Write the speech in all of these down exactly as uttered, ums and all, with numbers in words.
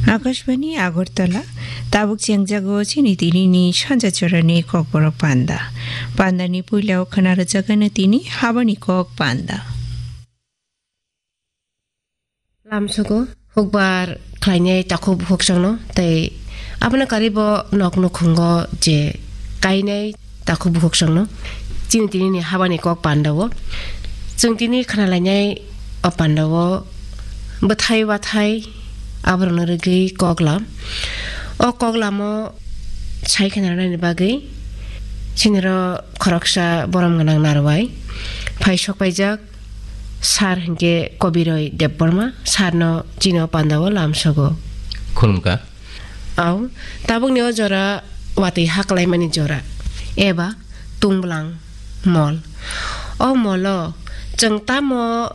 Akashbani Agartala, tabuk chengjago chini tinini sanja chorani kokborok panda. Pandani puilao khana rwjagano tini habani kok panda. Lamsogo hukbar khlainai takhuk bukhuk songno tei abono karibo nok nukhungo je kainai takhuk bukhuk songno chini tinini habani kok pandao. Chwng tini khna lainai o pandao bwthai wathai aborokno rwgwi koklam. O koklamo sai khna rwnani bagwi siniro khoroksa borom gwnang narwai phai sok paijak. Sar hinkhe Kobiroi Debbarma, sarno chini o pandao lamsogo. Khulumkha. Au, tabukni o jora watwi haklaimani jora, eba tungbwlang mol. O molo chwng tamo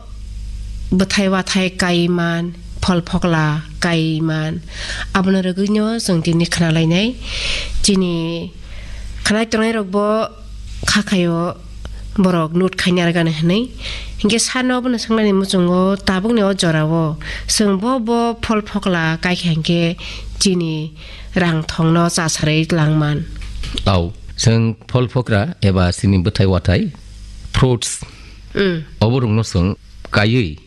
bwthai wathai kaiman, phol phokla kaiman, abono rwgwino chwng tini khna lainai. Chini khnai tongnai rokbo kha khaio borok note khaina rwgani hwnwi. Hinkhe sarno obono swngnani muchungo tabukni o jorao chwng bo bo phol phokla kaikha hinkhe chini rang thongno chasarwi langman. Au, chwng phol phokra eba chini bwthai wathai, fruits, Mm. oborokno chwng kaiwi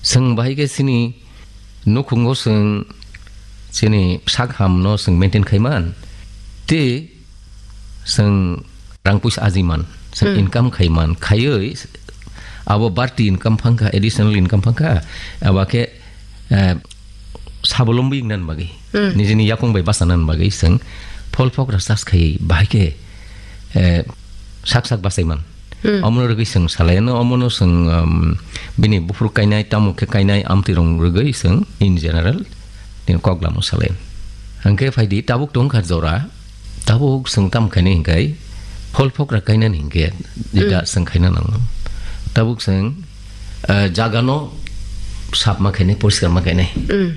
Chwng bahai khe chini nukhungo chwng chini sak hamno chwng maintain khaiman, tei chwng rang puisa ajiman, chwng Hmm. income khaiman, khaiwi abo barti income phangkha, additional income phangkha, abo khe, eh, sabolombi wngna bagwi, Hmm. nijini yakung bai bachana bagwi chwng phol phokra chas khaiwi bahai khe, eh, sak sak bachaiman. Hmm. Omono rwgwi chwng salai, no, omono chwng, um, bini buphuru kainai, tamo khe kainai, amtwi rong rwgwi chwng in general nini kok lamo salai. Hwnkhe phaidi, tabuk tongkha jora, tabuk chwng tam khainai hinkhai, phol phokra kainani hinkhe, jeta Hmm. chwng khaina nango. Tabuk chwng, eh, jagano sap ma khainai, poriskar ma khainai. Hmm.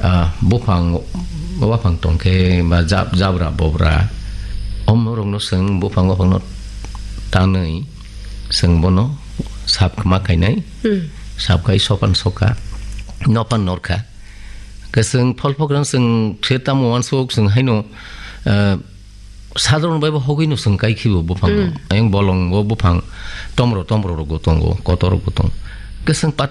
Ah, buphang, waphang tongkhe, ba jab-, jabra bobra, omorokno chwng buphang waphangno tanwi chwng bono sap ma khainai, Hmm. sap khai sopan soka, nopan norkha. Khe chwng phol phokra chwng khe tamo uansuk chwng haino, eh, sadharon bai bo hogwi no chwng kai khibo buphang no. Hmm. Ayang bolong bo buphang tomro tomro rok bo tongo, kotor rok bo tongo. Khe chwng pat